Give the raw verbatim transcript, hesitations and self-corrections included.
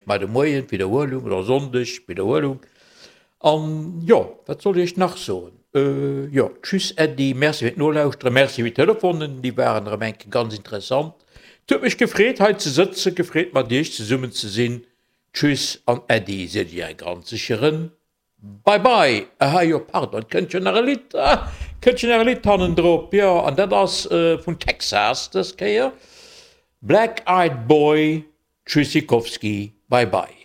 Mar de Moien d'Widderhuelung oder Sonndeg d'Widderhuelung. An jo, wat soll ech iech nach soen? Jo, tschüss Äddi, Merci fir d'Nolauschteren, Merci fir d'Telefonen, déi waren erëm eng Kéier ganz interessant. Et huet mech gefreet hei ze sëtzen, gefreet mat iech zesummen ze sinn. Tschüss an Äddi seet iech är ganz sécheren Bye bye. Aha jo, pardon, et kënnt jo nach e Lidd, ah, kënnt jo nach e Lidd hannendrop, jo, an dat ass vun Texas dës Kéier, Black Eyed Boy, Tschüssikowski, bye bye.